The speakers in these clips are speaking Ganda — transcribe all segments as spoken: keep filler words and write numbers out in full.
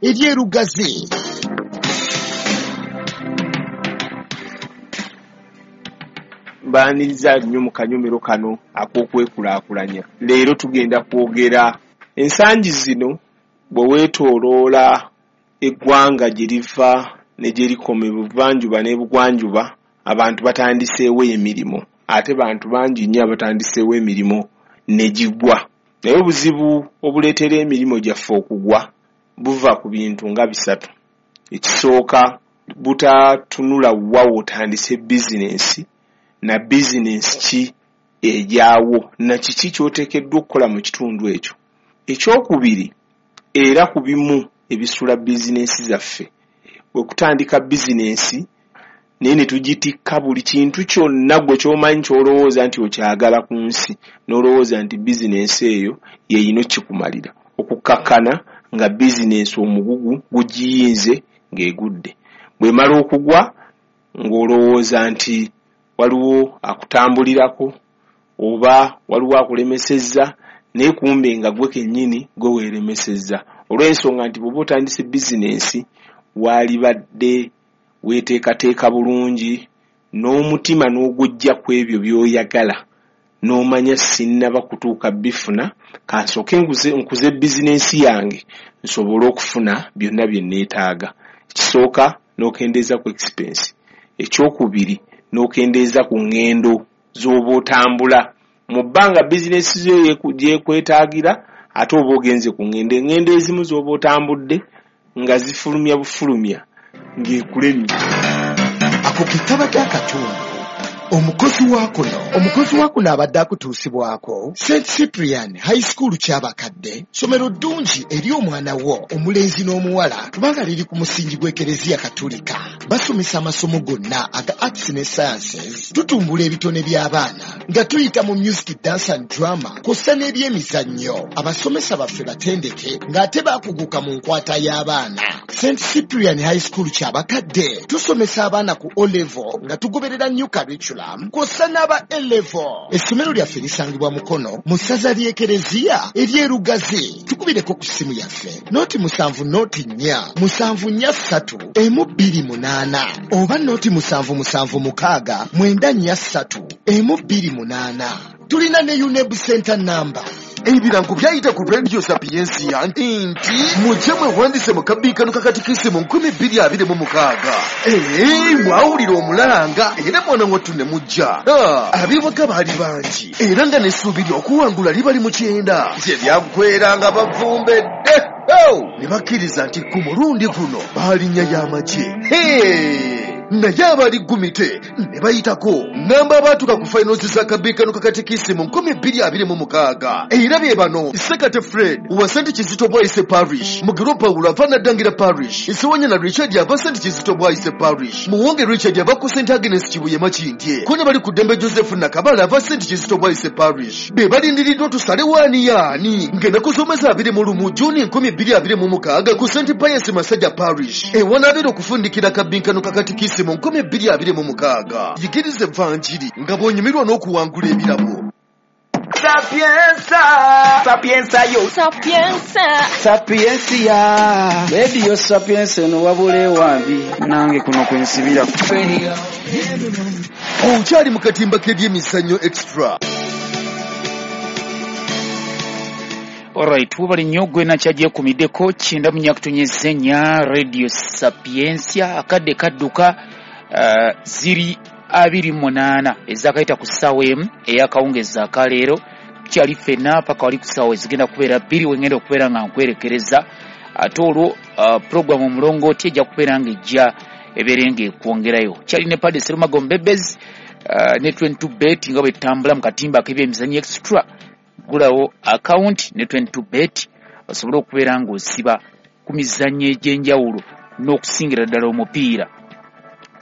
ery'e Lugazi. Mbaaniriza nnyo mu kanyomero kano ak'okwekulaakulanya. Leero tugenda kwogera ensangi zino bwe weetooloola eggwanga gye liva ne gye likoma ebuvanjuba n'ebugwanjuba, abantu batandiseewo emirimu, ate bantu bangi nnyo abatandiseewo emirimu ne gigwa. Naye obuzibu obuleetera emirimu gyaffe okugwa buva ku bintu nga bisatu. Ekisooka, butatunula wa w'otandise bizinensi na bizinensi ki egyawo na kiki ky'oteekeddwa okukola mu kitundu ekyo. Ekyokubiri, era ku bimu ebisula bizinensi zaffe, bwe kutandika bizinensi naye ne tugitikka buli kintu kyonna gwe ky'omanyi ky'olowooza nti okyagala ku nsi, n'olowooza nti bizinensi eyo y'erina okukikumalira, okukkakkana nga bizinensi omugugu gugiyinze ng'egudde. Bw'emala okugwa ng'olowooza nti waliwo akutambulirako oba waliwo akulemesezza, naye kumbe nga gwe kennyini gwe weeremesezza, olw'ensonga nti bw'oba otandise bizinensi waalibadde weeteekateeka bulungi n'omutima n'ogujja ku ebyo by'oyagala, n'omanya sinnaba kutuuka bifuna, kansooke nkuze bizinensi yange nsobole okufuna byonna bye neetaaga. Ekisooka, n'okendeeza ku expense. Ekyokubiri, n'okendeeza ku ŋŋendo z'oba otambula. Mu bbanga bizinensi zo gyekwetaagira, ate oba ogenze ku ŋŋendo, eŋŋendo ezimu z'oba otambudde nga zifulumya bufulumya ng'ekulemye. Ako ke kabadde akatundu. Omukozi wa kuno omukozi wa kuno abadde akutuusibwako Saint Cyprian High School Kyabakadde, ssomero ddungi eri omwana wo omulenzi n'omuwala kubanga liri ku musingi gw'Ekereziya Katulika. Basomesa amasomo gonna aga arts ne sciences, tutumbula ebitone by'abaana nga tuyita mu music, dance and drama kw'ossa n'ebyemizannyo. Abasomesa baffe batendeke ng'ate baakuguka mu nkwata y'abaana. Saint Cyprian High School Kyabakadde tusomesa abaana ku O level nga tugoberera new curriculum kw'ossa n'aba A level. Essomero lyaffe lisangibwa Mukono mu ssaza ly'Ekereziya ery'e Lugazi. Tukubireko ku ssimu yaffe noti musanvu noti nnya musanvu nnya ssatu emu bbiri munaana oba noti musanvu musanvu mukaaga mwenda nnya ssatu emu bbiri munaana. Tulina ne UNEB Center number. Ebirango byayita ku Radio Sapientia nti mujje mwewandise mu kabbinkano kakatikisimu nkumi bbiri abiri mu mukaaga. Ee, mwawulira omulanga era mwana wattu ne mujja. Ab'ewaka baali bangi era nga n'essuubi ly'okuwangula libali mu kyenda. Gye byaggweera nga bavumbedde ne bakkiriza nti ku mulundi guno baalinnya y'amagye. Naye abali gumite ne bayitako. Ŋŋamba abaatuuka ku finals za kabbinkano kakatikisimu nkumi bbiri abiri mu mukaaga. Era bye bano: Sekate Fred wa Saint Kizito Bwaise Parish, Mugiro Paulo ava Naddangira Parish, Ssewanyana Richard ava Saint Kizito Bwaise Parish, Muwonge Richard ava ku Saint Agnes Kibuye Makindye, Kone bali ku ddembe Joseph Nakabala ava Saint Kizito Bwaise Parish. Be balindiriddwa tusale waani yaani ng'ennaku z'omwezi abiri mu lumu Juni nkumi bbiri abiri mu mukaaga ku Saint Pius Masajja Parish, ewanaabeera okufundikira kabbinkano kakatikisimu nkumi bbiri abiri mu mukaaga. Yigiriza evanjiri nga bw'onyumirwa n'okuwangula ebirabo. Sapienza, sapienza yo, sapienza, sapiensia. Radio Sapienza eno wabula ewambi nange kuno kwensibira. Okyali mu katimba k'ebyemizannyo extra. Alright, webale nnyo gwe nakyagyekumideko kyenda mu nnya kutunyeza ennya Radio Sapientia. Akadde kadduka uh, ziri abiri munaana ezakayita ku ssaawa emu ey'akawungeezi akaleero. Tukyali ffenna paka wali ku ssaawa ezigenda kubeera bbiri wengenda okubeera nga nkwerekereza. Ate olwo uh, puroguramu omulongooti ejja kubeera ng'ejja ebeere ng'ekwongerayo. Kyali ne Padre Serumago Mbebezi uh, ne twenty-two bet nga bwe tutambula mu katimba ak'ebyemizannyo extra. Gulawo account ne twenty-two bet osobole okubeera ng'osiba ku mizannyo egy'enjawulo n'okusingira ddala omupiira.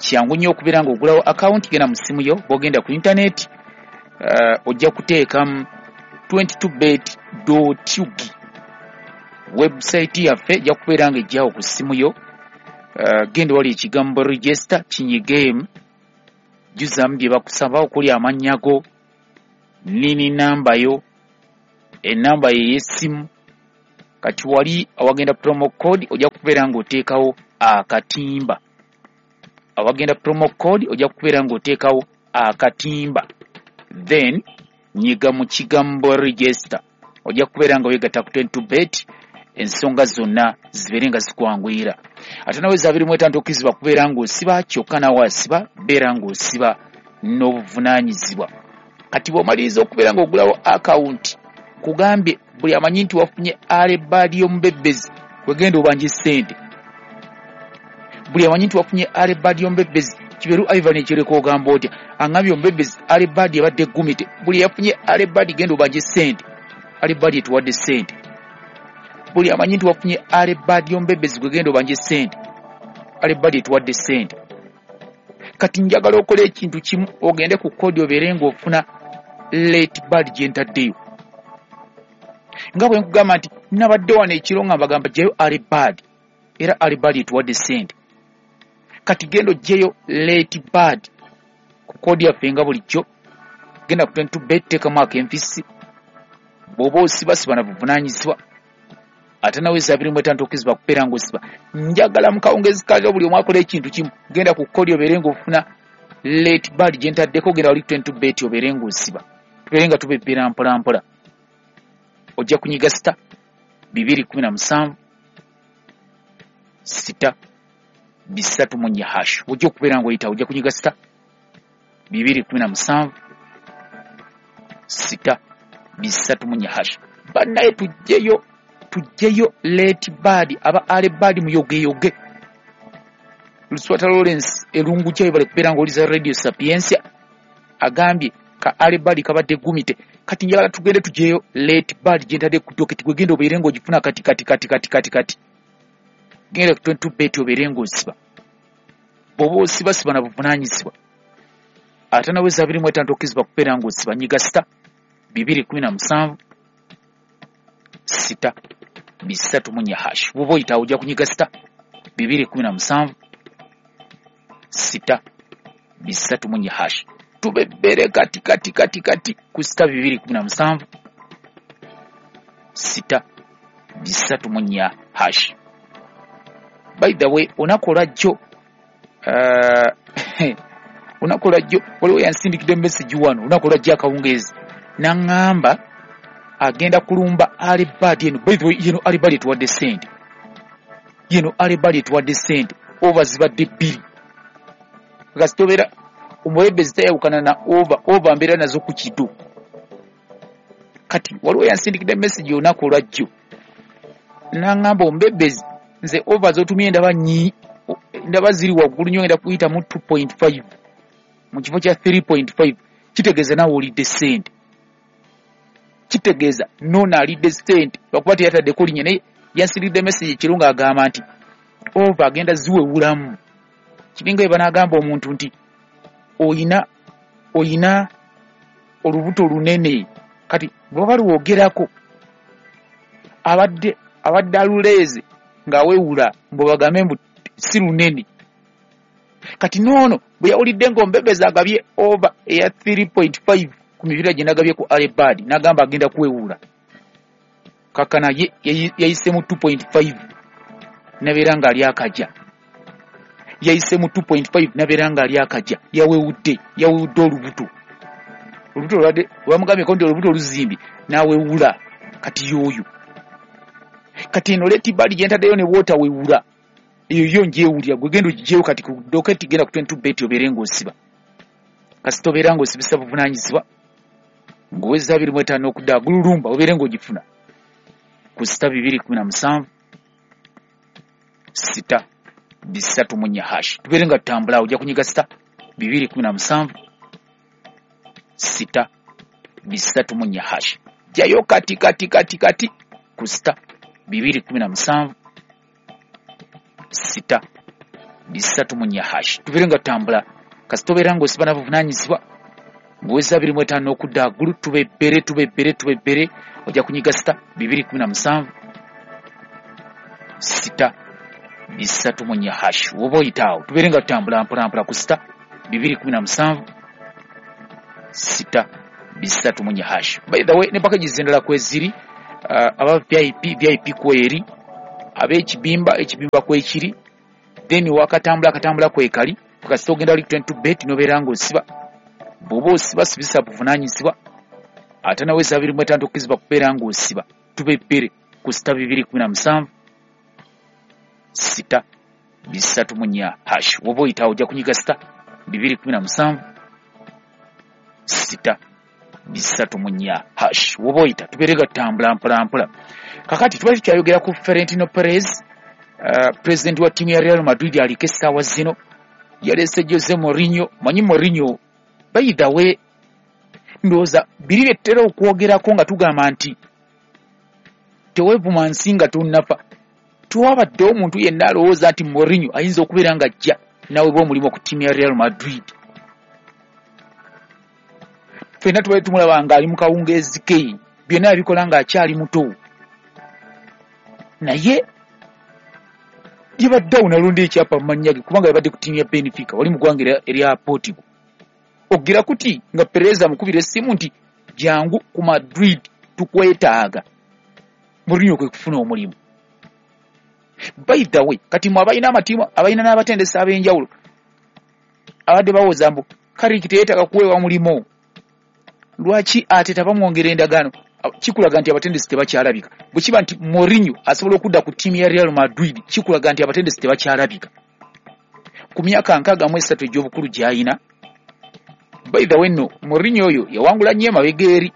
Kyangu nnyo okubeera ng'ogulawo account, genda mu ssimu yo, bw'ogenda ku internet uh, ojja kuteekamu twenty-two bet dot ug. Website yaffe ejja kubeera ng'ejjawo ku ssimu yo. Uh, genda wali ekigambo register kinyigeemu, jjuzaamu bye bakusaba okuli amannya go, nini namba yo, enamba ye ey'essimu, Kati wali awagenda promo code ojja kubeera ng'oteekawo akatimba. Awagenda promo code ojja kubeera ng'oteekawo akatimba, then nyiga mu kigambo register, ojja kubeera nga weegatta ku twenty bet, ensonga zonna zibeere nga zikwanguyira. Ate nawe abiri mu etaano tokkirizibwa kubeera ng'osiba kyokka nawe asiba beera ng'osiba n'obuvunaanyizibwa. Kati bw'omaliriza okubeera ng'ogulawo akawunti, kugambye buli amanyi nti wafunye alebaadi y'omubebbezi wegenda obanje ssente. Buli amanyi nti wafunye alebaadi y'omubebbezi, Kiberu Ivan ekireka ogamba otya aŋŋambye omubebbezi alebaadi ebadde eggumite. Buli yafunye alebaadi genda obanje ssente, alebaadi etuwadde ssente. Buli amanyi nti wafunye alebaadi y'omubebbezi gwe genda obanje ssente, alebaadi etuwadde ssente. Kati njagala okola ekintu kimu, ogende ku kodi obeere ng'ofuna late bad gye ntaddeyo. Nga bwe nkugamba nti nabadde wano ekiro nga mbagamba ggyayo alebaadi, era alebaadi etuwadde ssente. Kati genda oggyeyo late bad ku kodi yaffe nga bulijjo, genda ku twenty bet, teekamu akenfisi, bw'oba osiba siba na buvunaanyizibwa. Ate nawe abiri mu etaano tokkirizibwa kubeera ng'osiba. Njagala mu kawungezi kaliro buli omu akola ekintu kimu, genda ku kodi obeere ng'ofuna late bad gye ntaddeko, genda wali twenty bet obeere ng'osiba, tubeere nga tubebbera mpola mpola. Ojja kunyiga sita bibiri kumi na musanvu sita bisatu mu nnya hash, ojja okubeera ng'oyita, ojja kunyiga sita bibiri kumi na musanvu sita bisatu mu nnya hash. Bannaye tuggyeyo tuggyeyo late bad, aba alebaadi muyogeyoge. Luswata Lawrence Erungu kyayo bale kubeera ng'oliza Radio Sapientia agambye ka alebaadi kabadde gumite. Kati njagala tugende tuggyeyo late bad gye ntadde ku doketi, gwe genda obeere ng'ogifuna kati kati kati kati kati kati. Genda ku twenty bet obeere ng'osiba. Bw'oba osiba siba na buvunaanyizibwa. Ate nawe abiri mu etaano tokkirizibwa kubeera ng'osiba. Nyiga sita bibiri kumi na musanvu sita bisatu mu nnya hash. Bw'oba oyita ojja kunyiga sita bibiri kumi na musanvu sita bisatu mu nnya hash. Tubebbere kati kati kati kati ku sita bibiri kumi na musanvu sita bisatu mu nnya hash. By the way, olunaku olwajjo uh, olunaku olwajjo waliwo yansindikidde message wano olunaku olwajjo akawungeezi n'aŋŋamba agenda kulumba alebaadi eno. By the way, yeno alebaadi etuwadde ssente, yeno alebaadi etuwadde ssente ova zibadde bbiri. Kasita obeera omuwebbezi tayawukana na ova, ova mbeera nazo ku kido. Kati waliwo yansindikidde message olunaku olwajjo n'aŋŋamba omubebbezi nze ova z'otumye ndaba nyi ndaba ziri waggulu nnyo, ngenda kuyitamu two point five mu kifo kya three point five. Kitegeeza naawe olidde ssente, kitegeeza noono alidde ssente lwakuba teyataddeko linnya. Naye yansiridde message ekiro ng'agamba nti ova agenda ziwewulamu. Kiringa bwe banaagamba omuntu nti oyina oyina olubuto lunene, kati bwe baba lwogerako abadde abadde aluleeze ng'awewula mbu bagambe mbu si lunene. Kati noono bwe yawulidde ng'ombebezi agabye ova eya three point five ku mipiira gye nagabye ku alebaadi, n'agamba agenda kuwewula. Kakkana ye yayise mu two point five n'abeera ng'ali akajja, yayise mu two point five n'abeera ng'ali akajja, yawewudde yawewudde olubuto, olubuto olwadde bamugambyeko nti olubuto oluzimbye n'awewula. Kati y'oyo kati eno late bad gye ntaddeyo ne bw'otawewula eyo yo ngyewulira, gwe genda ogiggyeyo kati ku doketi, genda ku twenty bet obeere ng'osiba. Kasita obeera ng'osibisa buvunaanyizibwa ng'oweza abiri mu etaano okudda agululumba obeere ng'ogifuna ku sita bibiri kumi na musanvu sita bisatu mu nnya hash. Tubeere nga tutambula, ojja kunyiga sita bibiri kumi na musanvu sita bisatu mu nnya hash. Jjayo kati kati kati kati ku sita bibiri kumi na musanvu sita bisatu mu nnya hash. Tubeere nga tutambula. Kasita obeera ng'osiba na buvunaanyizibwa ng'oweza abiri mu etaano okudda aggulu, tubebbere tubebbere tubebbere, ojja kunyiga sita bibiri kumi na musanvu sita bisatu mu nnya hash. Woba oyita awo tubeere nga tutambula mpola mpola ku sita bibiri kumi na musanvu sita bisatu mu nnya hash. By the way, ne packages endala kweziri uh, aba V I P V I P kweri, ab'ekibimba ekibimba kwekiri, then wakatambula akatambula kwekali kasita ogenda wali twenty two bet nobeera ng'osiba. Bw'oba osiba sibisa buvunaanyizibwa, ate nawe abiri mu etaano tokkirizibwa kubeera ng'osiba. Tuba ebbere ku sita bibiri kumi na musanvu sita bisatu mu nnya hash. Woba oyitawo ojja kunyiga sita bibiri kumi na musanvu sita bisatu mu nnya hash. Woba oyita tubeere nga tutambula mpola mpola. Kakati tubadde tukyayogera ku Florentino Perez, uh, president wa ttiimu ya Real Madrid aliko essaawa zino. Yaleese Jose Mourinho. Manyi Mourinho, by the way, ndowooza biri bye tutera okwogerako nga tugamba nti teweevuma nsi nga tonnafa. Twabadde omuntu yenna alowooza nti Mourinho ayinza okubeera nga ajja n'aweebwa omulimu ku ttiimu ya Real Madrid. Ffenna tubadde tumulaba ng'ali mu kawungeezi ke, byonna yabikola ng'akyali muto, naye yabadde awo n'alonda ekyapa mu mannya ge kubanga yabadde ku ttiimu ya Benfica wali mu ggwanga erya Portugal. Ogira kuti nga Perez amukubira essimu nti jangu ku Madrid tukwetaaga. Mourinho kwe kufuna omulimu. By the way, kati mwe abalina amatiimu abalina n'abatendesi ab'enjawulo abadde bawoza mbu Carrick teyeetaaga kuweebwa mulimu, lwaki ate tabamwongera endagaano? Kikulaga nti abatendesi tebakyalabika. Bwe kiba nti Mourinho asobola okudda ku ttiimu ya Real Madrid, kikulaga nti abatendesi tebakyalabika. Ku myaka nkaaga mu esatu egy'obukulu gy'alina. By the way nno Mourinho oyo yawangula nnyo emabega eri.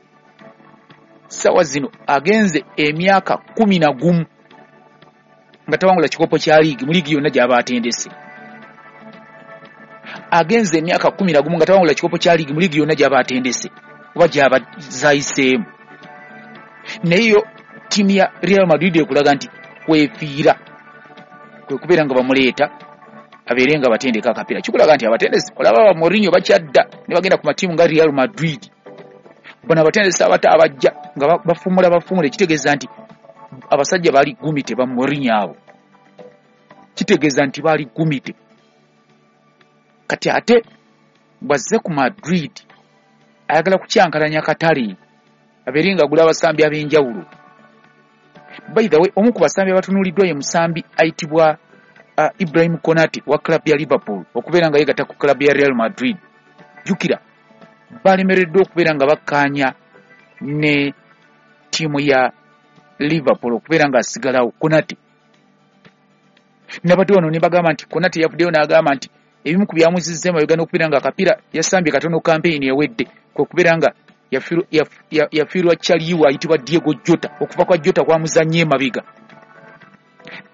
Ssaawa zino agenze emyaka kumi na gumu nga tawangula kikopo kya liigi mu liigi yonna gy'aba atendese. Agenze emyaka kumi na gumu nga tawangula kikopo kya liigi mu liigi yonna gy'aba atendese oba gy'aba zayiseemu. Naye yo ttiimu ya Real Madrid ekulaga nti kwefiira kwe kubeera nga bamuleeta abeere nga batendeka akapiira. Kikulaga nti abatendesi olaba ba Mourinho bakyadda ne bagenda ku matiimu nga Real Madrid. Bano abatendesi abato abajja nga bafumula bafumula, kitegeeza nti abasajja baali gumite ba Mourinho abo, kitegeeza nti baali gumite. Kati ate bw'azze ku Madrid ayagala kukyankalanya katale abeere nga agula abasambi ab'enjawulo. By the way, omu ku basambi abatunuuliddwa ye musambi ayitibwa uh, Ibrahim Konate wa club ya Liverpool okubeera nga yeegatta ku club ya Real Madrid. Jjukira balemereddwa okubeera nga bakkaanya ne ttiimu ya Liverpool okubeera nga asigalawo Konate. Nabadde wano ne bagamba nti Konate yavuddeyo n'agamba nti ebimu ku byamuzizza emabega n'okubeera nga akapiira yasambye katono kampeyini ewedde kwe kubeera nga yafiirwa Chaliwa ayitibwa Diego Jota. Okufa kwa Jota kwamuzannye emabega,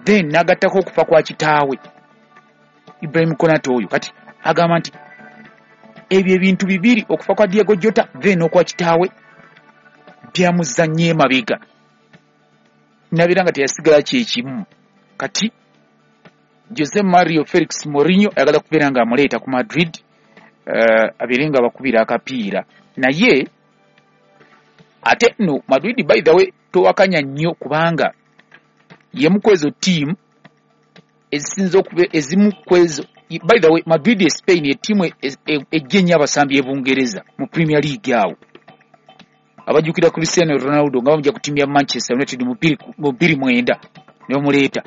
then n'agattako okufa kwa kitaawe Ibrahim Konate oyo. Kati agamba nti ebyo ebintu bibiri, okufa kwa Diego Jota then n'okwa kitaawe, byamuzannye emabega nabeera nga teyasigala kyekimu. Kati Jose Mario Felix Mourinho ayagala kubeera nga amuleeta ku Madrid uh, abeere nga bakubira akapiira. Naye ate no Madrid by the way towakanya nnyo kubanga yemu kwezo ttiimu ezisinza okuba ezimu kwezo. By the way, Madrid e Spain ettiimu ejja ennyo abasambi e Bungereza mu Premier League awo. Abajjukira Cristiano Ronaldo nga bamugya ku ttiimu ya Manchester United mu bbiri mwenda ne bamuleeta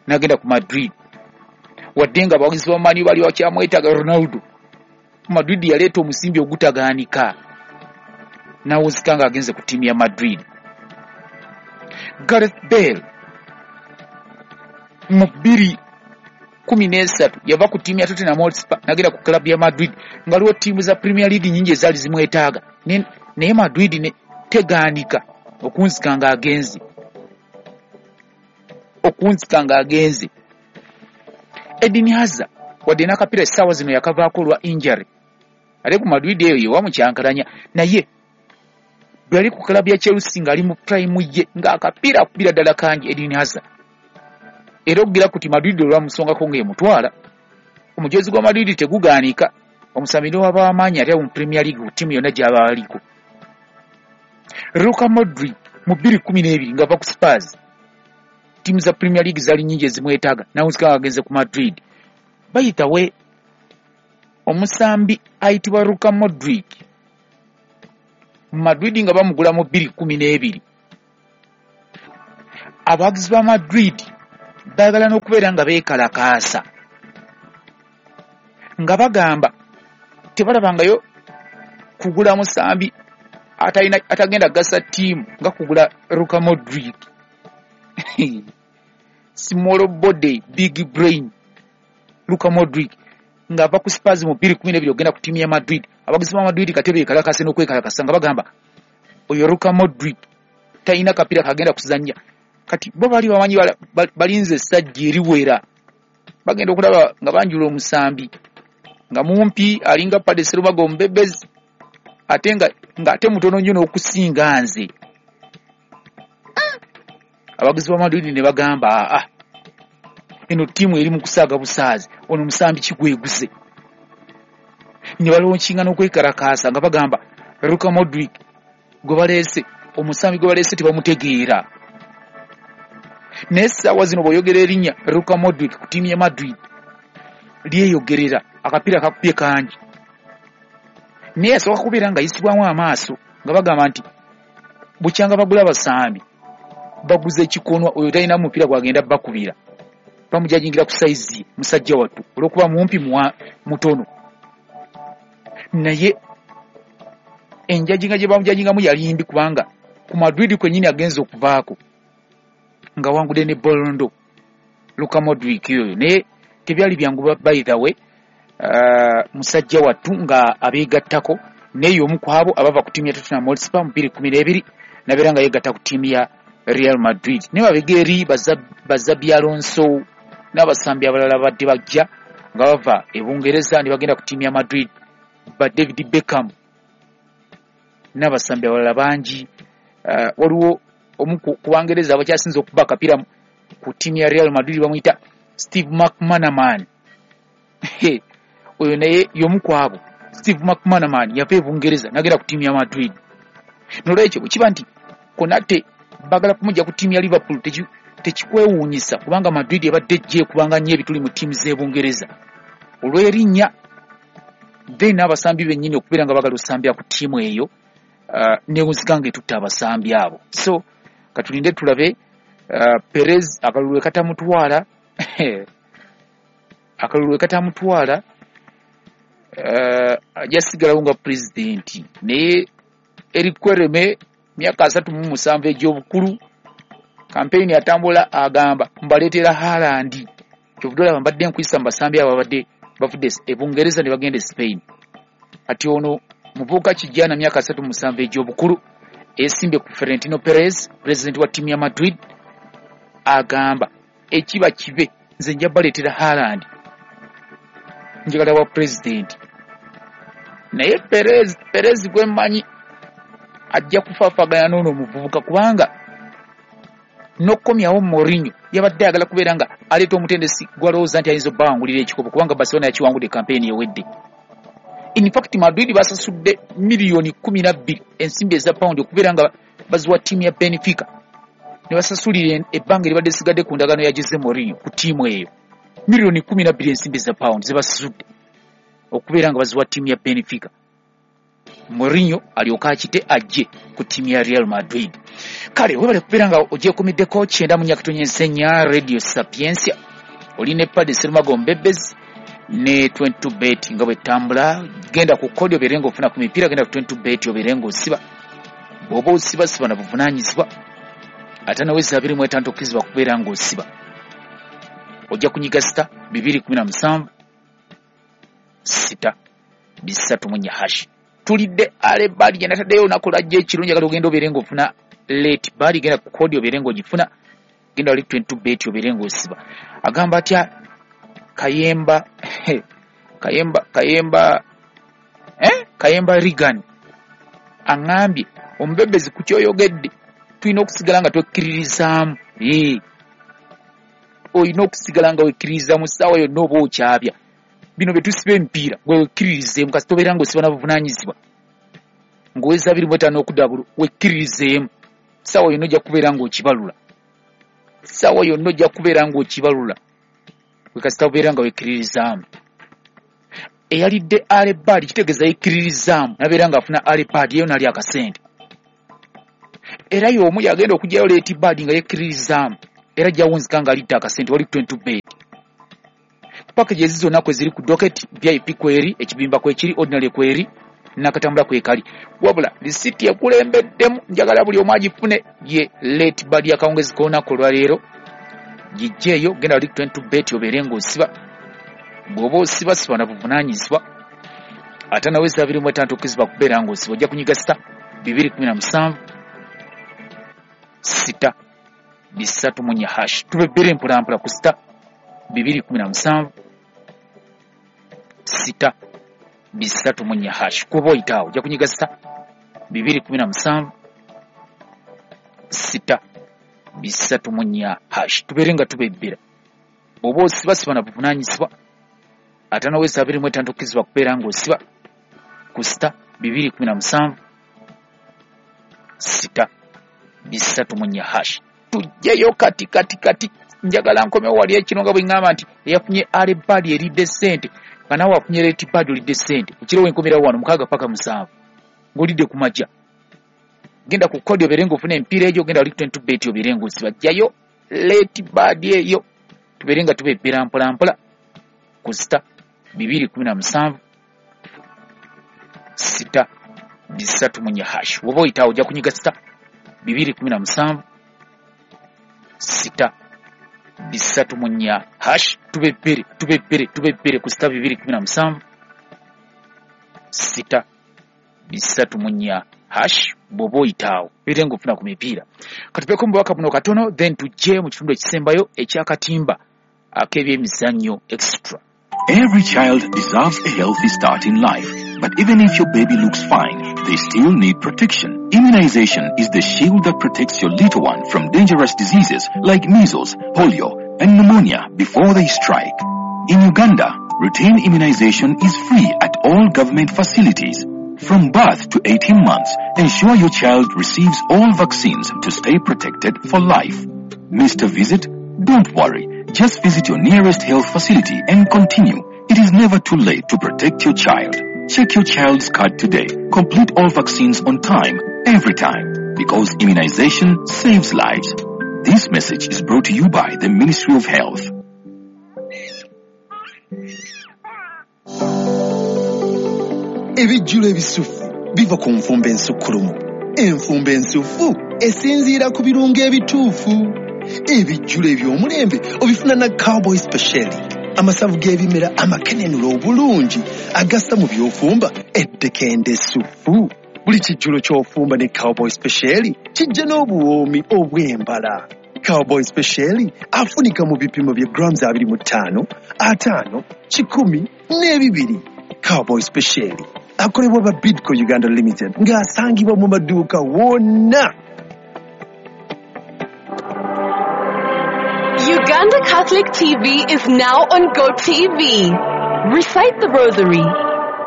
n'agenda ku Madrid. Wadde nga abawagizi ba Man U bali bakyamwetaaga Ronaldo, Madrid yaleeta omusimbi ogutagaanika n'awuzika ng'agenze ku ttiimu ya Madrid. Gareth Bale mu bbiri kumi n'esatu yava ku ttiimu ya Tottenham Hotspur n'agenda ku club ya Madrid nga waliwo ttiimu za Premier League nnyingi ezaali zimwetaaga, naye Madrid ne tegaanika okunzika ng'agenze okunzika ng'agenze. Eden Hazard wadde n'akapiira essaawa zino yakavaako olwa injury, ate ku Madrid eyo yewamukyankalanya, naye bwe yali ku club ya Chelsea ng'ali mu prime ye ng'akapiira akubira ddala kangi Eden Hazard. Era okugira kuti Madrid olwamusongako ng'emutwala, omujozi gwa Madrid tegugaanika, omusambi n'owaba w'amaanyi ate mu Premier League ku ttiimu yonna gy'aba aliko. Luka Modric mu bbiri kumi n'ebiri ng'ava ku Spurs, ttiimu za Premier League zaali nnyingi ezimwetaaga, n'awunzika ng'agenze ku Madrid. By the way, omusambi ayitibwa Luka Modric Madrid nga bamugula mu bbiri kumi n'ebiri Abawagizi ba Madrid baagala n'okubeera nga beekalakaasa nga bagamba tebalabangayo kugula musambi atalina atagenda gasa ttiimu nga kugula Luka Modric. Small body, big brain Luka Modric ng'ava ku Spurs mu bbiri kumi n'ebiri ogenda ku ttiimu ya Madrid. Abawagizi ba Madrid kati beekalakaase n'okwekalakasa nga bagamba oyo Luka Modric talina kapiira kagenda kuzannya. Kati bo bali bamanyi balinze essajja eriwera, bagenda okulaba nga banjula omusambi nga mumpi alinga Paddy Serumago omubebezi ate nga ng'ate mutono nnyo n'okusinga nze. Abawagizi ba Madrid ne bagamba aa eno ttiimu eri mu kusaaga busaazi, ono musambi kigweguze. Ne balonkinga n'okwekalakaasa nga bagamba Luka Modric gwe baleese, omusambi gwe baleese tebamutegeera. Naye essaawa zino bw'oyogera erinnya Luka Modric ku ttiimu ya Madrid lyeyogerera, akapiira kakubye kangi. Naye yasooka kubeera nga yisibwamu amaaso nga bagamba nti bukyanga bagula abasambi baguze ekikonwa, oyo talina mupiira gwagenda bakubira, bamujajingira ku sayizi musajja wattu olw'okuba mumpi mutono. Naye enjajinga gye bamujajingamu yali mbi kubanga ku Madrid kwennyini agenze okuvaako nga wangudde ne Ballon d'Or Luka Modric oyo. Naye tebyali byangu by the way, uh, musajja wattu nga abeegattako naye omu ku abo abava ku ttiimu ya Tottenham Hotspur mu bbiri kumi n'ebiri nabeera nga yeegatta ku ttiimu ya Real Madrid. Naye mabega eri ba Xabi Alonso n'abasambi abalala badde bajja nga bava e Bungereza ne bagenda ku ttiimu ya Madrid, ba David Beckham n'abasambi abalala bangi. Uh, waliwo omu ku Bangereza abakyasinze okuba akapiira ku ttiimu ya Real Madrid bamuyita Steve McManaman. Oyo naye y'omu ku abo. Steve McManaman yava e Bungereza n'agenda ku ttiimu ya Madrid. Nolwekyo bwe kiba nti Konate bagala kumujja ku ttiimu ya Liverpool tekikwewuunyisa kubanga Madrid ebadde ejja ekubanga nnyo ebituli mu ttiimu z'e Bungereza olw'erinnya, then n'abasambi bennyini okubeera nga bagala osambira ku ttiimu eyo uh, newunzika nga etutta abasambi abo. So katulinde tulabe uh, Perez akalulu we katamutwala akalulu we katamutwala uh, ajja sigalawo nga pulezidenti. Naye Eric Kwereme myaka asatu mu musanvu egy'obukulu, kampeyini atambula agamba mbaleetera Haaland. Kyovudde olaba mbadde nkuyisa mu basambi abo abadde bavudde e Bungereza ne bagenda e Spain. Kati ono muvubuka kijana myaka asatu mu musanvu egy'obukulu esimbye ku Florentino Perez, pulezidenti wa ttiimu ya Madrid, agamba ekiba kibe nze nja baleetera Haaland, njagala wa pulezidenti. Naye Perez, Perez gwe mmanyi ajja kufaafagana n'ono omuvubuka kubanga n'okukomyawo Mourinho yabadde ayagala kubeera nga aleeta omutendesi gw'alowooza nti ayinza obbawangulira ekikopo kubanga Barcelona yakiwangudde kampeyini ewedde. In fact Madrid basasudde miliyoni kumi na bbiri ensimbi eza pawundi okubeera nga baziwa ttiimu ya Benfica ne basasulira ebbanga eribadde lisigadde ku ndagaano ya Jose Mourinho ku ttiimu eyo. Miliyoni kumi na bbiri ensimbi eza pawundi ze basasudde okubeera nga baziwa ttiimu ya Benfica. Mourinho alyoka akite ajje ku ttiimu ya Real Madrid. Kale webale kubeera nga ogyekumiddeko kyenda mu nyakatonye nnya Radio Sapientia, oli ne Paddy Serumago Mbebezi ne twenty-two bet nga bwetambula. Genda ku kodi obeere ng'ofuna ku mipiira, genda ku twenty-two bet obeere ng'osiba. Bw'oba osiba siba na buvunaanyizibwa, ate naweza abiri mu etaano tokkirizibwa kubeera ng'osiba. Ojja kunyiga sita bibiri kumi na musanvu sita bisatu mu nnya hashi. Tulidde ale bali gye nataddeyo olunaku lwajja ekiro, njagala ogenda obeere ng'ofuna late bali, genda ku kodi obeere ng'ogifuna, genda wali twenty-two bet obeere ng'osiba. Agamba atya Kayemba Kayemba Kayemba eh Kayemba Regan aŋŋambye omubebezi ku kyoyogedde tulina okusigala nga twekkiririzaamu. Eh, olina okusigala nga wekkiririza mu ssaawa yonna oba okyabya. Bino bye tusiba emipiira gwe wekkiririzeemu, kasita obeera ng'osiba na buvunaanyizibwa ng'oweza abiri mu etaano okudda bulu wekkiririzeemu, ssaawa yonna ojja kubeera ng'okibalula, ssaawa yonna ojja kubeera ng'okibalula gwe kasita obeera nga wekkiririzaamu. Eyalidde alebaadi kitegeeza yekkiririzaamu n'abeera ng'afuna alebaadi eyo n'alya akasente. Era y'omu yagenda okugyayo late bird nga yekkiririzaamu, era gyawunzika nga alidde akasente wali twenty bet. Packages zonna kwe ziri ku docket, V I P kweri, ekibimba kwekiri, ordinary kweri, nakatambula kwekali. Wabula risiti ekulembeddemu njagala buli omu agifune ye late bird y'akawungezi k'olunaku olwaleero. Gijjeeyo genda wali twenty bet obeere ng'osiba. Bw'oba osiba siba na buvunaanyizibwa. Ate nawe abiri mu etaano tokkirizibwa kubeera ng'osiba, ojja kunyiga sita bibiri kumi na musanvu sita bisatu mu nnya hash. Tube bbiri mpolampola ku sita bibiri kumi na musanvu sita bisatu mu nnya hash. Kuba oyitaawo ojja kunyiga sita bibiri kumi na musanvu sita bisatu mu nnya hash. Tubeere nga tubebbera. Bw'oba osiba siba na buvunaanyizibwa. Ate nawe abiri mu etaano tokkirizibwa kubeera ng'osiba ku sita bibiri kumi na musanvu sita bisatu mu nnya hash. Tujjeyo kati kati kati, njagala nkomewo wali ekino nga bwe ŋŋamba nti eyafunye early bird eridde ssente nga naawe afunye late bird olidde ssente. Ekiro wenkomerawo wano mukaaga paka musanvu ng'olidde ku majja. Genda ku kodi obeere ng'ofuna emipiira egyo, genda wali twenty bet obeere ng'osiba. Jjayo late bird eyo tubeere nga tubebbera mpola mpola ku sita bibiri kumi na musanvu sita bisatu mu nnya hash. Bw'oba oyitaawo ojja kunyiga sita bibiri kumi na musanvu sita bisatu mu nnya hash. Tubebbere tubebbere tubebbere ku sita bibiri kumi na musanvu sita bisatu mu nnya hash. Bw'oba oyitaawo beere ng'ofuna ku mipiira. Katubeeko mu bubaka buno katono, then tujje mu kitundu ekisembayo eky'akatimba ak'ebyemizannyo extra. Every child deserves a healthy start in life. But even if your baby looks fine, they still need protection. Immunization is the shield that protects your little one from dangerous diseases like measles, polio, and pneumonia before they strike. In Uganda, routine immunization is free at all government facilities. From birth to eighteen months, ensure your child receives all vaccines to stay protected for life. Missed a visit? Don't worry. Just visit your nearest health facility and continue. It is never too late to protect your child. Check your child's card today. Complete all vaccines on time, every time, because immunization saves lives. This message is brought to you by the Ministry of Health. Ebijjulo ebisufu biva ku nfumba ensukkulumu. Enfumba ensufu esinziira ku birungo ebituufu. Ebijjulo eby'omulembe obifuna na Cowboy Special, amasavu g'ebimera amakenenula obulungi agassa mu by'ofumba eddekende essufu. Buli kijjulo ky'ofumba ne Cowboy Special kijja n'obuwoomi obw'embala. Cowboy Special afunika mu bipimo bya grams abiri mu ttaano, ataano, kikumi n'ebibiri. Cowboy Special akolebwa ba Bidco Uganda Limited ng'asangibwa mu maduuka wonna. Uganda Catholic T V is now on GoTV. Recite the Rosary,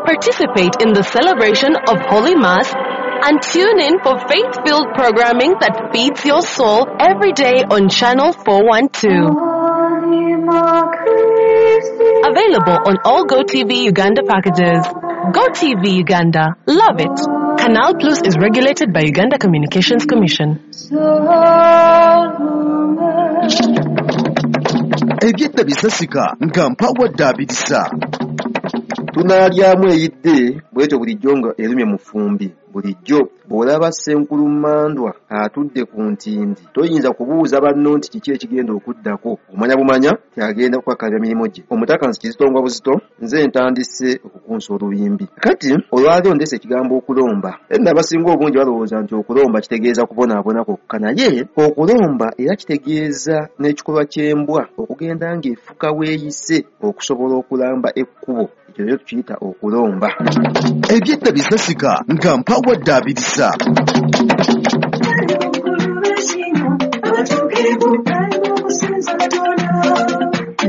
participate in the celebration of Holy Mass, and tune in for faith-filled programming that feeds your soul every day on Channel four one two. Available on all GoTV Uganda packages. GoTV Uganda. Love it. Canal Plus is regulated by Uganda Communications Commission. Ebyedda bisasika nga mpawadde abirisa. Tunaalyamu eyidde bwetyo bulijjo nga erumye mu ffumbi. Bulijjo bw'olaba Ssenkulu Mmandwa atudde ku ntindi, toyinza kubuuza banno nti kiki ekigenda okuddako. Omanya bumanya kyagenda kukakalira mirimu gye. Omutaka nsi kizitongwa buzito, nze ntandise okukunsa olubimbi. Kati olwaleero ndeese ekigambo okulomba. Enna abasinga obungi balowooza nti okulomba kitegeeza kubonaabona kwokka, naye okulomba era kitegeeza n'ekikolwa ky'embwa okugenda ng'efuka weeyise okusobola okulamba ekkubo. Ekyo nakyo tukiyita okulomba. Ebyedda bisasika nga mpawadde abirisa.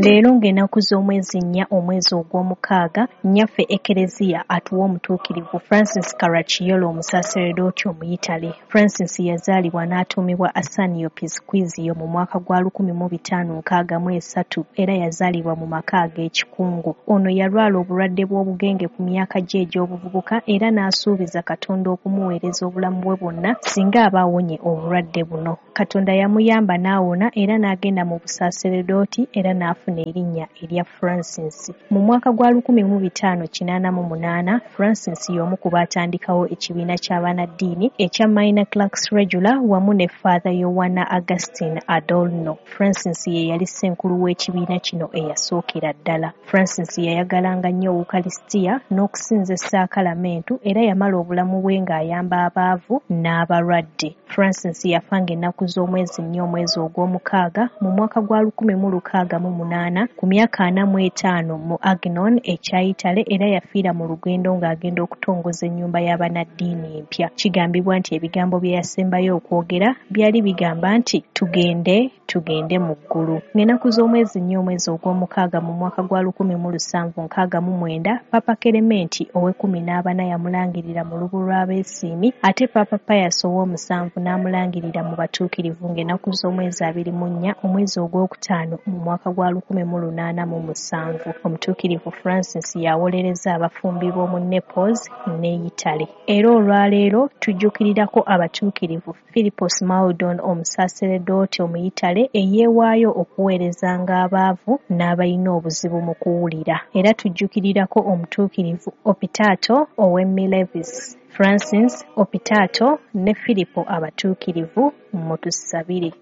Leero ng'ennaku z'omwezi nnya omwezi ogw'omukaaga, nnyaffe Ekereziya atuwa omutuukirivu Francis Caracciolo omusaseredooti Omuyitale. Francis yazaalibwa n'atuumibwa Ascanio Pisquizio mu mwaka gwa lukumi mu bitaano nkaaga mu esatu era yazaalibwa mu maka ag'ekikungu. Ono yalwala obulwadde bw'obugenge ku myaka gye egy'obuvubuka era n'asuubiza Katonda okumuweereza obulamu bwe bwonna singa aba awonye obulwadde buno. Katonda yamuyamba n'awona era n'agenda mu busaseredooti era n'afuna erinnya erya Francis. Mu mwaka gwa lukumi mu bitaano kinaana mu munaana, Francis y'omu ku baatandikawo ekibiina ky'abannaddiini ekya Minor Clerks Regular wamu ne Father Yowanna Augustine Adorno. Francis ye yali ssenkulu w'ekibiina kino eyasookera ddala. Francis yayagalanga nnyo Ukaristia n'okusinza essaakalamentu era yamala obulamu bwe ng'ayamba abaavu n'abalwadde. Francis yafa ng'ennaku z'omwezi nnya omwezi ogw'omukaaga mu mwaka gwa lukumi mu lukaaga mu munaana ku myaka ana mu etaano mu Agnon ekya Italy era yafiira mu lugendo ng'agenda okutongoza ennyumba y'abannaddiini empya. Kigambibwa nti ebigambo bye yasembayo okwogera byali bigamba nti tugende tugende mu ggulu. Ng'ennaku z'omwezi nnya omwezi ogw'omukaaga mu mwaka gwa lukumi mu lusanvu nkaaga mu mwenda, Papa Kelementi ow'ekkumi n'abana yamulangirira mu lubu lw'abeesiimi ate Papa Pius ow'omusanvu n'amulangirira mu batuukirivu ng'ennaku z'omwezi abiri mu nnya omwezi ogwokutaano mu mwaka gwa lukumi mu lunaana mu musanvu. Omutuukirivu Francis yawolereza abafumbi b'omu Naples ne Italy. Era olwaleero tujjukirirako abatuukirivu Philippos Maldon omusaseredooti Omuyitale eyeewaayo okuweerezanga abaavu n'abalina obuzibu mu kuwulira. Era tujjukirirako omutuukirivu Opitato ow'e Milevis, Francis Opitato ne Filipo abatuukirivu mutusabire.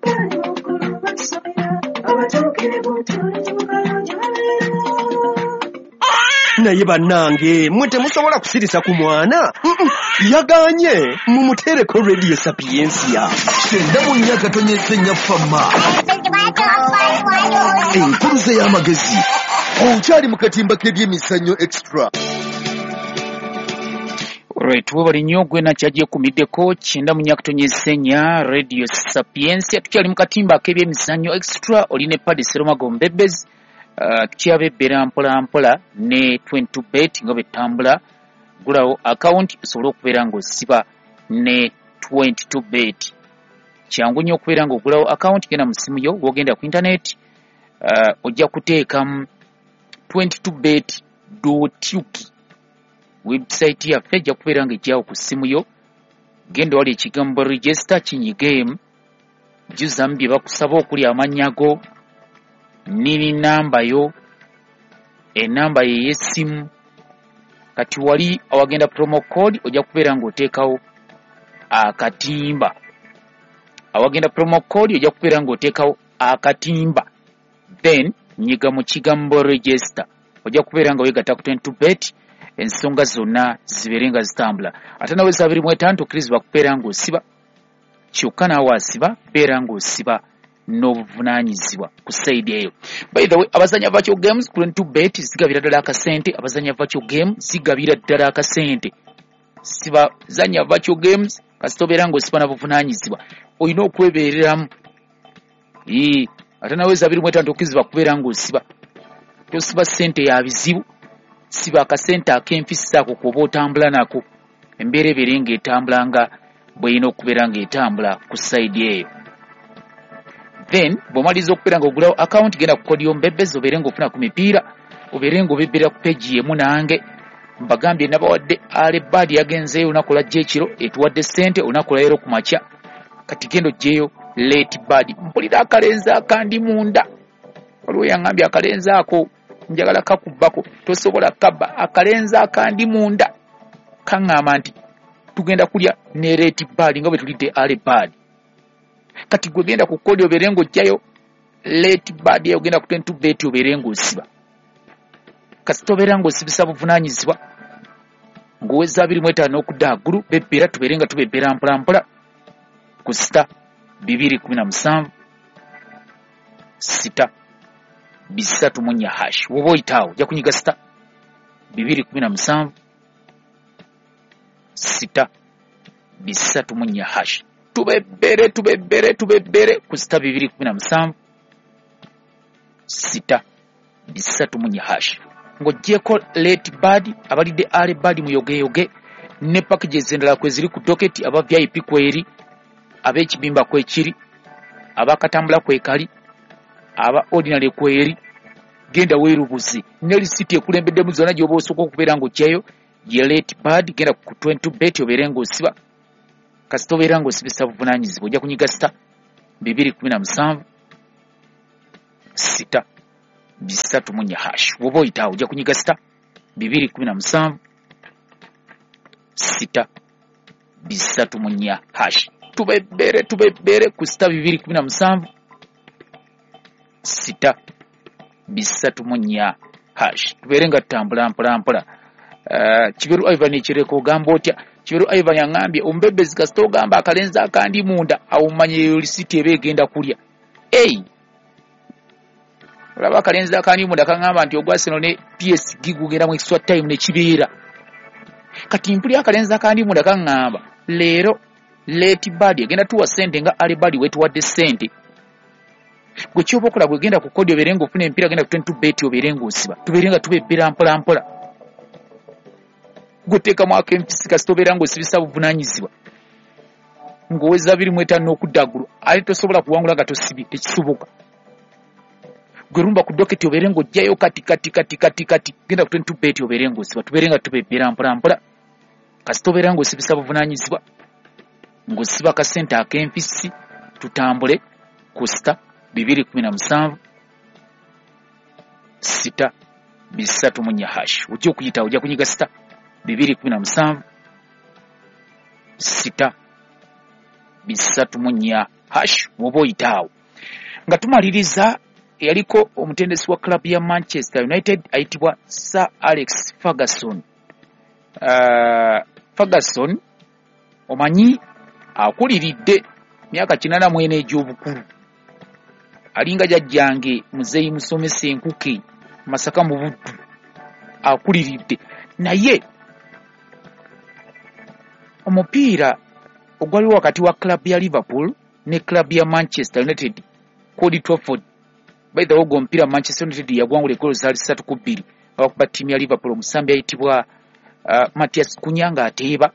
Naye bannange mwe temusobola kusirisa ku mwana. Yaganye mumuteereko Radio Sapientia. Kyenda mu nnya katonyeze nnya fama. Enkuluze y'amagezi. Okyali mu katimba k'ebyemizannyo extra. Alright, webale nnyo gwe nakyagye-kumiddeko kyenda mu nnya katonyeze nnya Radio Sapientia. Tukyali mu katimba ak'ebyemizannyo extra, oli ne Paddy Serumago Mbebezi. Uh, tukyabebbera mpola mpola ne twenty-two bet nga bwetambula. Gulawo account osobole okubeera ng'osiba ne twenty-two bet. Kyangu nnyo okubeera ng'ogulawo account, genda mu ssimu yo, w'ogenda ku internet, uh, ojja kuteekamu twenty-two bet dot ug. Website yaffe ejja kubeera ng'ejjawo ku ssimu yo. Genda wali ekigambo register kinyigeemu, jjuzamu bye bakusaba okuli amannya go, nini namba yo, enamba ye y'essimu. Kati wali awagenda promo code ojja kubeera ng'oteekawo akatimba. Awagenda promo code ojja kubeera ng'oteekawo akatimba, then nyiga mu kigambo register, ojja kubeera nga weegatta ku twenty-two bet, ensonga zonna zibeere nga zitambula. Ate nawe abiri mu etaano tokkirizibwa kubeera ng'osiba, kyokka naawe asiba beera ng'osiba n'obuvunaanyizibwa ku side eyo. By the way, abazanya virtual games ku twenty-two bet zigabira ddala akasente. Abazanya virtual game zigabira ddala akasente. Siba zanya virtual games kasita obeera ng'osiba na buvunaanyizibwa, olina okwebeereramu. Ee, ate nawe abiri mu etaano tokkirizibwa kubeera ng'osiba. Tosiba ssente ya bizibu, siba akasente ak'enfisa ako k'oba otambula nako, embeera ebeere ng'etambula nga bw'erina okubeera ng'etambula ku side eyo. Then bw'omaliriza okubeera ng'ogulawo account, genda ku kodi y'ombebezi obeere ng'ofuna ku mipiira, obeere ng'obebbera ku page emu nange. Mbagambye nabawadde Alebad yagenzeeyo olunaku lwajja ekiro, etuwadde ssente olunaku lwaleero ku makya. Kati genda oggyeyo late bad. Mpulira akalenzi akandi munda. Waliwo yaŋŋambye akalenzi ako njagala kakubbako, tosobola kabba. Akalenzi akandi munda kaŋŋamba nti tugenda kulya ne late bad nga bwe tulidde Alebad. Kati gwe genda ku kodi obeere ng'oggyayo late bad eyo, genda ku twenty-two bet obeere ng'osiba. Kasita obeera ng'osibisa buvunaanyizibwa ng'oweza abiri mu etaano n'okudda waggulu, bebbera tubeere nga tubebbera mpola mpola ku sita bibiri kumi na musanvu sita bisatu mu nnya hash. Woba oyitaawo ojja kunyiga sita bibiri kumi na musanvu sita bisatu mu nnya hash. Tubebbere tubebbere tubebbere ku sita bibiri kumi na musanvu sita bisatu mu nnya hash. Ng'oggyeko late bird, abalidde early bird muyogeyoge ne packages endala kwe ziri ku docket, aba V I P kweri, ab'ekibimba kwekiri, abakatambula kwekali, aba ordinary kweri. Genda weerubuzi ne lisiti ekulembeddemu zonna gy'oba osooka okubeera ng'oggyayo ye late bird. Genda ku twenty bet obeere ng'osiba, kasita obeera ng'osibisa buvunaanyizibwa ojja kunyiga sita bibiri kumi na musanvu sita bisatu mu nnya hash. Bw'oba oyitaawo ojja kunyiga sita bibiri kumi na musanvu sita bisatu mu nnya hash. Tubebbere tubebbere ku sita bibiri kumi na musanvu sita bisatu mu nnya hash. Tubeere nga tutambula mpola mpola. Uh, Kiberu Ivan ekireko ogamba otya? Kiberu Ivan aŋŋambye omubebbezi kasita ogamba akalenzi akandi munda awo omanye eyo lisiti eba egenda kulya. Ei, olaba akalenzi akandi munda kaŋŋamba nti ogwa Arsenal ne P S G gugenda mu extra time ne kibeera. Kati mpulira akalenzi akandi munda kaŋŋamba leero late bird egenda tuwa ssente nga early bird wetuwadde ssente. Gwe kyoba okola gwe genda ku kodi obeere ng'ofuna emipiira, genda ku twenty bet obeere ng'osiba, tubeere nga tubebbera mpola mpola. Gwe teekamu ak'empisi kasita obeera ng'osibisa buvunaanyizibwa ng'oweza abiri mu etaano n'okudda waggulu, ate tosobola kuwangula nga tosibye, tekisoboka. Gwe rumba ku doketi obeere ng'oggyayo kati kati kati kati kati, genda ku twenty bet obeere ng'osiba, tubeere nga tubebbera mpola mpola. Kasita obeera ng'osibisa buvunaanyizibwa ng'osiba akasente ak'empisi, tutambule ku sita bibiri kumi na musanvu sita bisatu mu nnya hash. Ojja okuyita ojja kunyiga sita bibiri kumi na musanvu sita bisatu mu nnya hash. Bw'oba oyitaawo nga tumaliriza, eyaliko omutendesi wa club ya Manchester United ayitibwa Sir Alex Ferguson. Uh, Ferguson omanyi akuliridde myaka kinaana mu ena egy'obukulu, alinga jjajjange muzeeyi musomesa enkuke Masaka mu Buddu, akuliridde. Naye omupiira ogwaliwo wakati wa club ya Liverpool ne club ya Manchester United ku Old Trafford, by the way ogwo omupiira Manchester United yagwangula eggolo zaali ssatu ku bbiri abakuba ttiimu ya Liverpool. Omusambi ayitibwa uh, Matthias Cunha ng'ateeba,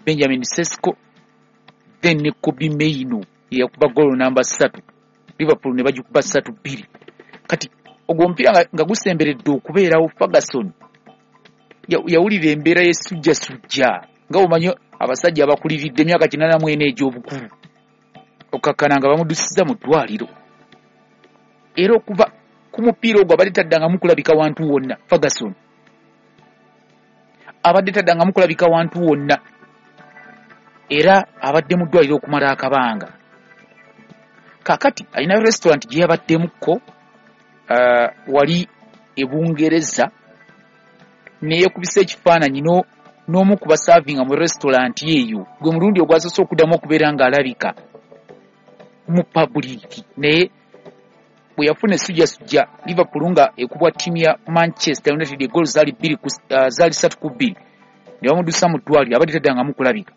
Benjamin Sesko, then ne Kobbie Mainoo eyakuba ggolo namba ssatu, Liverpool ne bagikuba ssatu bbiri. Kati ogwo omupiira nga, nga gusemberedde okubeerawo, Ferguson yawulira embeera y'essujjasujja nga omanyi abasajja abakuliridde emyaka kinaana mu ena egy'obukulu, okkakkana nga bamuddusizza mu ddwaliro. Era okuva ku mupiira ogwo abadde taddangamu kulabika wantu wonna. Ferguson abadde taddangamu kulabika wantu wonna, era abadde mu ddwaliro okumala akabanga. Kaakati alina restaurant gye yabaddemukko uh, wali e Bungereza, neyeekubisa ekifaananyi n'omu ku basaavinga mu restaurant eyo, gwe mulundi ogwasoose okuddamu okubeera ng'alabika mu public. Naye bwe yafuna essujjasujja Liverpool nga ekubwa ttiimu ya Manchester United eggolo zaali bbiri ku uh, zaali ssatu ku bbiri, ne bamuddusa mu ddwaliro, abadde taddangamu kulabika.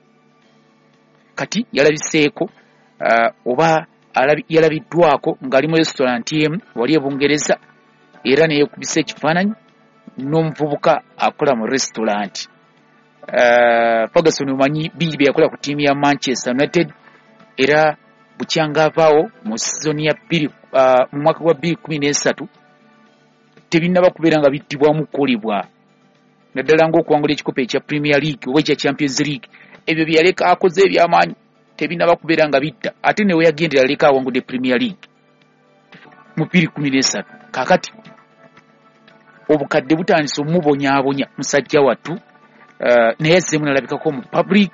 Kati yalabiseeko uh, oba yalabiddwako ng'ali mu restaurant emu wali e Bungereza, era neyeekubisa ekifaananyi n'omuvubuka akola mu restaurant. Uh, Ferguson omanyi bingi bye yakola ku ttiimu ya Manchester United, era bukyanga avaawo mu sizoni ya bbiri uh, mu mwaka gwa bbiri kumi n'esatu tebinnaba kubeera nga bittibwamu kukolebwa, naddala ng'okuwangula ekikopo ekya Premier League oba ekya Champions League. Ebyo bye yaleka akoze eby'amaanyi tebinnaba kubeera nga bitta, ate ne we yagendera aleka awangudde Premier League mu bbiri kumi n'esatu. Kaakati obukadde butandise omubonyaabonya musajja wattu, uh, naye azzeemu n'alabikako mu public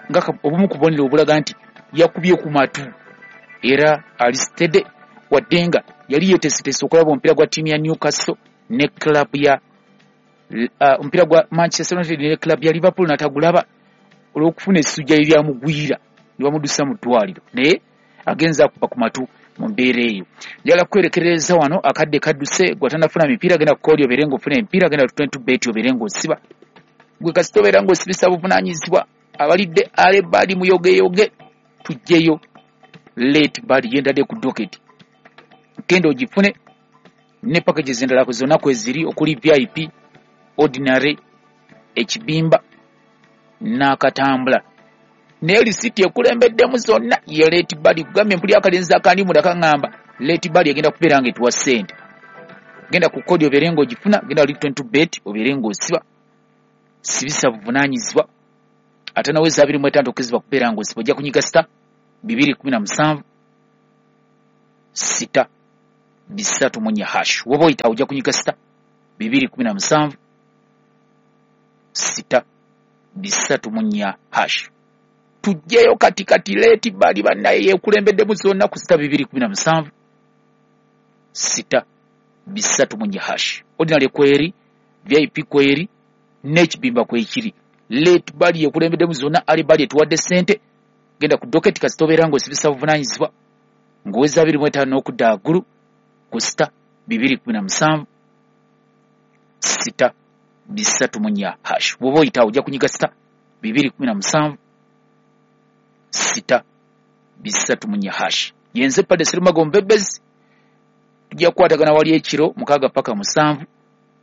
nga obumu ku bubonero obulaga nti yakubye ku matu era ali steady, wadde nga yali yeeteeseteese okulaba omupiira gwa ttiimu ya Newcastle ne club ya uh, omupiira gwa Manchester United ne club ya Liverpool n'atagulaba olw'okufuna essujja eryamugwira ne bamuddusa mu ddwaliro, naye agenza akuba ku matu mu mbeera eyo. Njagala kwerekereza wano, akadde kadduse, gwe atannafuna mipiira genda ku koodi obeere ng'ofuna emipiira, genda ku twenty bet obeere ng'osiba. Gwe kasita obeera ng'osibisa buvunaanyizibwa, abalidde early bird muyogeyoge, tuggyeyo late bird gyendadde ku docket, genda ogifune Ne packages endala zonna kweziri okuli V I P, ordinary, ekibimba n'akatambula. Naye lisiti ekulembeddemu zonna ye Late Bali. Kugambye mpuli akalenzi akandi munda kaŋŋamba Late Bali egenda kubeera nga etuwa ssente. Genda ku kodi obeere ng'ogifuna, genda wali twenty-two bet obeere ng'osiba, sibisa buvunaanyizibwa. Ate naweza abiri mu etaano okkirizibwa kubeera ng'osiba, ojja kunyiga sita bibiri kumi na musanvu sita bisatu mu nnya hash. Woba oyita ojja kunyiga sita bibiri kumi na musanvu sita bisatu mu nnya hash. Tujjeyo kati kati Late Bali bannaye yekulembeddemu zonna ku sita bibiri kumi na musanvu sita bisatu mu nnya hash. Ordinary kweri, V I P kweri, n'ekibimba kwekiri. Late Bali yekulembeddemu zonna, Ali Bali etuwadde ssente. Genda ku docket kasita obeera ng'osibisa buvunaanyizibwa ng'oweza abiri mu etaano n'okudda waggulu ku sita bibiri kumi na musanvu sita bisatu mu nnya hash. Bw'oba oyita ojja kunyiga sita bibiri kumi na musanvu sita bisatu mu nnya hash. Yenze Padre Serumago Mbebezi, tujja kukwatagana wali ekiro mukaaga paka musanvu.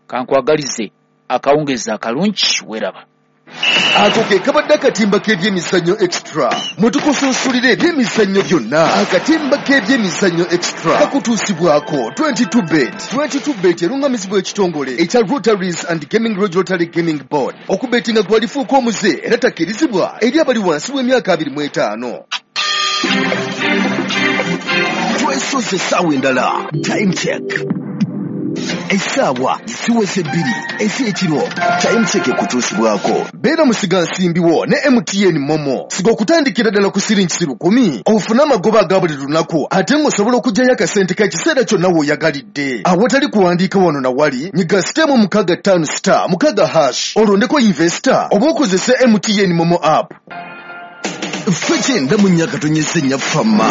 Kankwagalize akawungeezi akalungi, weeraba. Ako ke kabadde akatimba k'ebyemizannyo extra. Mwe tukusunsulira ebyemizannyo byonna. Akatimba k'ebyemizannyo extra kakutuusibwako twenty-two bet. twenty-two bet erungamizibwa ekitongole ekya Rotaries and Gaming Regulatory Gaming Board. Okubetinga gwalifuuka omuze era takkirizibwa eri abali wansi w'emyaka abiri mu etaano. Twesoze essaawa endala. Time check. Essaawa ziweze bbiri ez'ekiro. Time check ekutuusibwako. Beera musigansimbi wo ne M T N Momo. Siga okutandikira ddala ku siringi lukumi ofune amagoba aga buli lunaku, ate ng'osobola okuggyayo akasente k'ekiseera kyonna w'oyagalidde. Awatali kuwandiika wano na wali, nyiga sitemu mukaaga ttaano star mukaaga hash olondeko investor oba okozese M T N Momo app. Ffe kyenda mu nnya katonyeze nnya fama.